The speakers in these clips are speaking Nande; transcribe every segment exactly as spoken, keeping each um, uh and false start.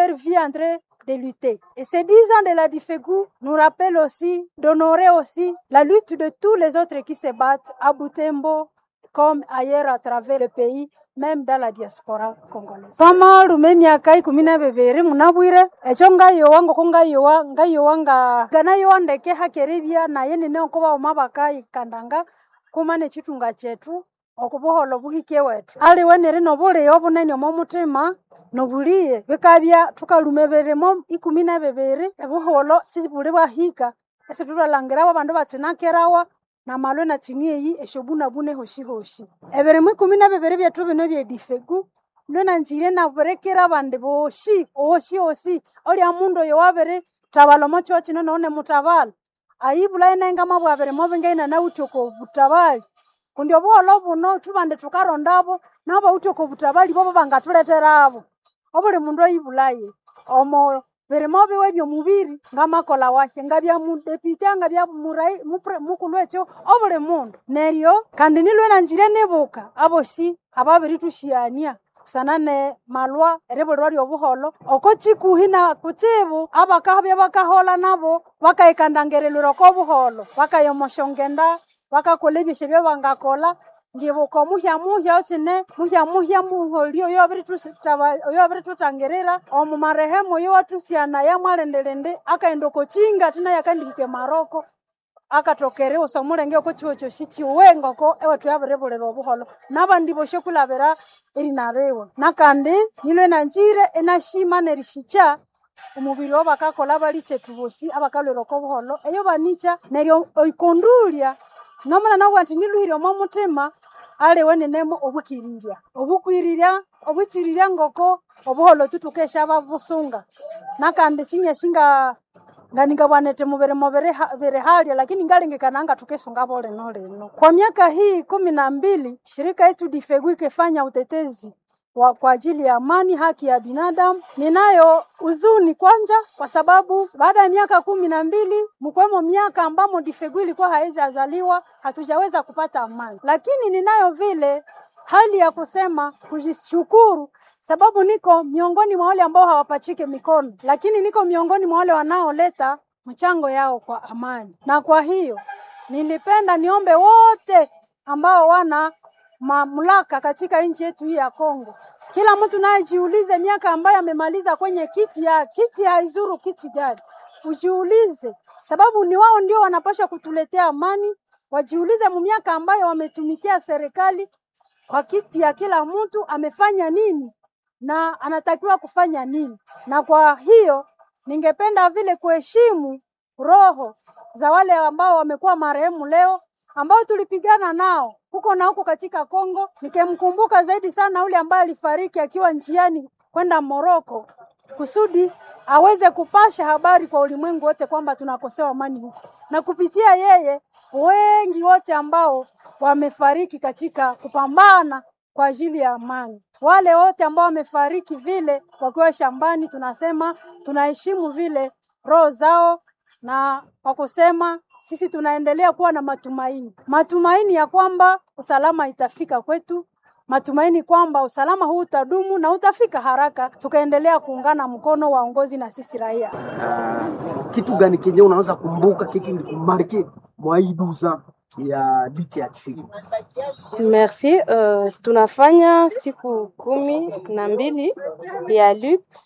leur vie en train de lutter. Et ces dix ans de la DIFEGU nous rappellent aussi d'honorer aussi la lutte de tous les autres qui se battent à Butembo comme ailleurs à travers le pays, même dans la diaspora congolaise. Twamalume emyaka ikumi na bibiri munabwire ekyo ngayowa ngoko ngayowa ngayowa nga nganayowa ndeke hakeribya naye nine oko baghuma bakayikandanga kuma nekitunga kyethu okubuholho buhike wethu. Aliwe neri nobulighe bunene omo muthima nobulighe bikabya thukaluma ebirimo ikumi na bibiri obuholho sibuli bwahika isithuthalangirabo abandu bakinakerawa namalwe nakini eyi esyobunabune hoshihoshi. Ebirimo ikumi na bibiri byethu bino ebyedifegu lwe nanzire nabirikira abandi bosi osi osi olya mundu oyo wabirithabalha omo kihugho kino nawu nimuthabalha ayibulhaye naye ngamabugha birimo bingahi inanawithe oko butabali kundi obuholho buno thubandi thukarondabo nabo bawithe oko butabali bobo bangathuletherabo. Obuli mundu ayibulhaye omo birimo biwe ebyomubiri ngamakolha wahi ngabya mudepite ngabya murai mupre mukulhu wekyo obuli mundu. Neryo kandi nilwe nanzire nibuka abosi ababirithusyighania busana ne malwa eribulirwa lyobuholho oko kikuhi na kutsibu abakabya bakaholha nabo bakayikandangirilwira oko buholho bakaya omo syongenda bakakolha ebyosi ebyabangakolha ngibuka omuhya muhya okine muhya muhya muholi oyo oyo wabirithuthangirira omu marehemu oyo wathusyanaya mwalindilindi akaghenda oko kinga athi naye akandihika emaroko akathoka eriwusa omulenge oko kihugho kyosi kiwe ngoko ewethu yabiribulira obuholho nabandi bosi okwilhabira erinariwe. Nakandi nilwe nanzire inashima nerisikya omubiri owabakakolha abalikyethu bosi abakalhwira oko buholho eyo banikya neryo eikondulya nomuna nabugha indi nilhuhire omo muthima aliwe ninemo obwikirirya. Obukwirirya obwikirirya ngoko obuholho thukesya busunga nakandi sinyasi nga nganingabugha nithi mubirimo biri halya lakini ngalengekana ngathukisungabo lino lino. Kwa miaka hii kumi na mbili shirika yetu DIFEGU ikifanya utetezi wa kwa ajili ya amani, haki ya binadamu. Ninayo huzuni kwanza kwa sababu baada ya miaka kumi na mbili mkwemo miaka ambamo DIFEGU ilikuwa haizi azaliwa hatujaweza kupata amani, lakini ninayo vile hali ya kusema kujishukuru sababu niko miongoni mwa wale ambao hawapachike mikono, lakini niko miongoni mwa wale wanaoleta mchango yao kwa amani. Na kwa hiyo nilipenda niombe wote ambao wana mamlaka katika nchi yetu hii ya Kongo, kila mtu naye jiulize miaka ambayo amemaliza kwenye kiti ya kiti haizuru kiti gani, ujiulize, sababu ni wao ndio wanapaswa kutuletea amani. Wajiulize mu miaka ambayo wametumikia serikali kwa kiti ya kila mtu amefanya nini na anatakiwa kufanya nini. Na kwa hiyo ningependa vile kuheshimu roho za wale ambao wamekuwa marehemu leo ambao tulipigana nao huko na huko katika Kongo. Nikimkumbuka zaidi sana yule ambaye alifariki akiwa njiani kwenda Moroko kusudi aweze kupasha habari kwa ulimwengu wote kwamba tunakosewa amani huko, na kupitia yeye wengi wote ambao wamefariki katika kupambana kwa ajili ya amani, wale wote ambao wamefariki vile wakiwa shambani, tunasema tunaheshimu vile roho zao, na kwa kusema sisi tunaendelea kuwa na matumaini, matumaini ya kwamba usalama itafika kwetu, matumaini kwamba usalama huu utadumu na utafika haraka, tukaendelea kuungana mkono waongozi na sisi raia. Uh, kitu gani kenye unaweza kumbuka kiki likumarquer mwa hii douze ya lutte ya DIFEGU? Merci. Uh, tunafanya siku kumi na mbili ya lutte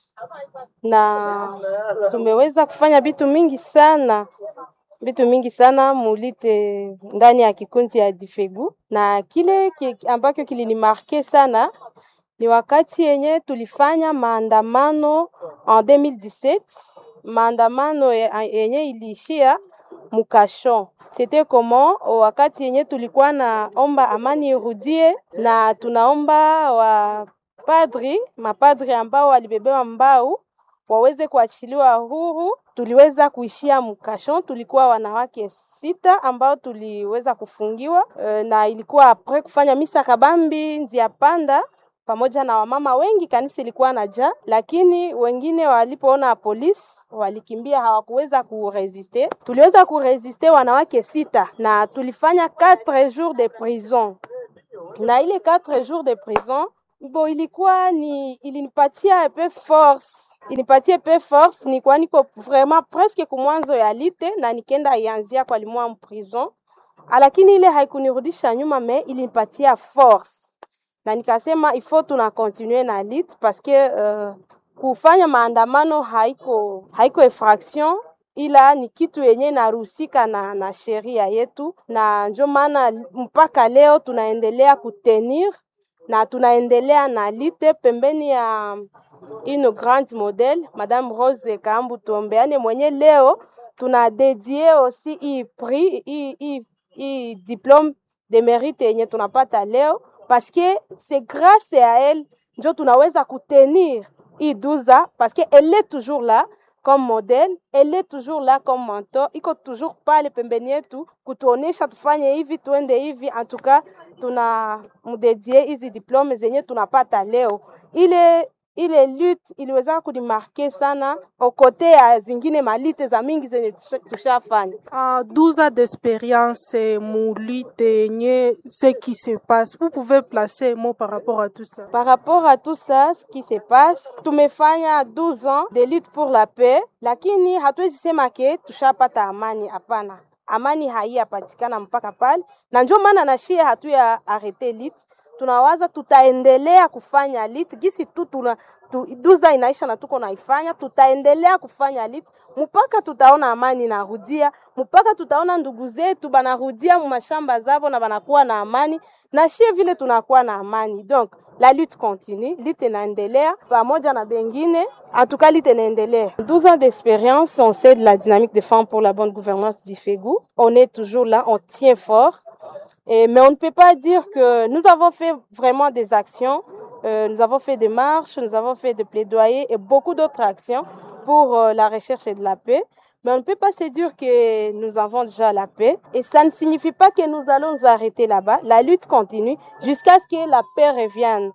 na tumeweza kufanya vitu mingi sana vitu mingi sana mu lutte ndani ya kikundi ya Difegu, na kile ki, ambacho kilinimarquer sana ni wakati yenye tulifanya maandamano en deux mille dix-sept, maandamano yenye iliishia mu cachot. C'était comment? Wakati yenye tulikuwa naomba amani irudie na tunaomba wa padri mapadri ambao walibebewa mbau waweze kuachiliwa huru. Tuliweza kuishia mu cachot, tulikuwa wanawake sita ambao tuliweza kufungiwa e, na ilikuwa après kufanya misa kabambi nzia panda pamoja na wamama wengi, kanisa ilikuwa na jaa, lakini wengine walipoona polisi walikimbia, hawakuweza kurésister. Tuliweza kurésister wanawake sita na tulifanya quatre jours de prison, na ile quatre jours de prison bo ilikuwa ni ilinipatia un peu force. inipatie pe force, nikuwa niko vraiment presque kumwanzo ya lutte na nikenda ianzia kwa limwa prison, lakini ile haikunirudisha nyuma, mais ilinipatia force na nikasema il faut tuna continuer na lutte parce que uh, kufanya maandamano haiko haiko infraction ila ni kitu yenye inaruhusika na, na sheria yetu, na njo maana mpaka leo tunaendelea kutenir na tunaendelea na lutte pembeni ya une grande modèle Madame Rose Kambu Tuombeane mwenye leo tuna dédié aussi hii prix hii hii hii diplôme de mérite yenye tunapata leo parce que c'est grâce à elle njo tunaweza kutenir hii douze parce que elle est toujours là comme modèle, elle est toujours là comme mentor, iko toujours pale pembeni yetu kutuonesha tufanye hivi tuende hivi. En tout cas tuna mdédier hizi diplôme zenye tunapata leo. Ile ile lutte iliweza kunimarquer sana okote ya zingine malutte za mingi zenye tushafanya. Uh, douze ans d'expérience mu lutte yenye ce qui se passe. Vous pouvez placer un mot par rapport à tout ça. Par rapport à tout ça, ce qui se passe, tumefanya douze ans de lutte pour la paix, lakini hatuwezi sema que tushapata amani. Hapana, amani haiyapatikana mpaka pale, na njo maana na shie hatuya arrêter lutte. Tunawaza tutaendelea kufanya lutte gisi tu tuna tu, douze inaisha na tuko naifanya, tutaendelea kufanya lutte mpaka tutaona amani inarudia, mpaka tutaona ndugu zetu banarudia mu mashamba zabo na banakuwa na amani, na shie vile tunakuwa na amani. Donc la lutte continue, lutte inaendelea pamoja na bengine. En tout cas, lutte inaendelea. douze ans d'expérience, on sait de la dynamique des femmes pour la bonne gouvernance d'IFEGU. On est toujours là, on tient fort. Et, mais on ne peut pas dire que nous avons fait vraiment des actions. Euh, nous avons fait des marches, nous avons fait des plaidoyers et beaucoup d'autres actions pour euh, la recherche et de la paix. Mais on ne peut pas se dire que nous avons déjà la paix. Et ça ne signifie pas que nous allons nous arrêter là-bas. La lutte continue jusqu'à ce que la paix revienne.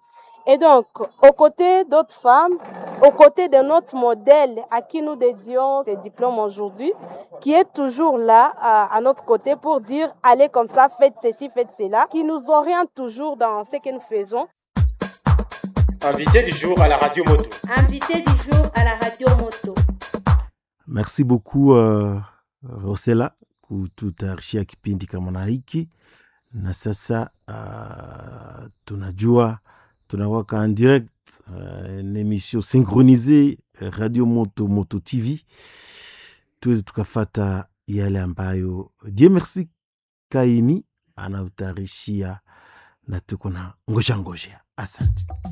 Et donc, aux côtés d'autres femmes, aux côtés de notre modèle à qui nous dédions ces diplômes aujourd'hui, qui est toujours là à, à notre côté pour dire allez comme ça, faites ceci, faites cela, qui nous oriente toujours dans ce que nous faisons. Invité du jour à la radio moto. Invité du jour à la radio moto. Merci beaucoup uh, Rosela kututayarishia kipindi kama na hiki, na sasa uh, tunajua tunawaka en direct uh, une émission synchronisée Radio Moto Moto T V, tuweze tukafata yale ambayo Dieu merci Kaini anatayarishia na tuko na ngoja ngojea. Asante.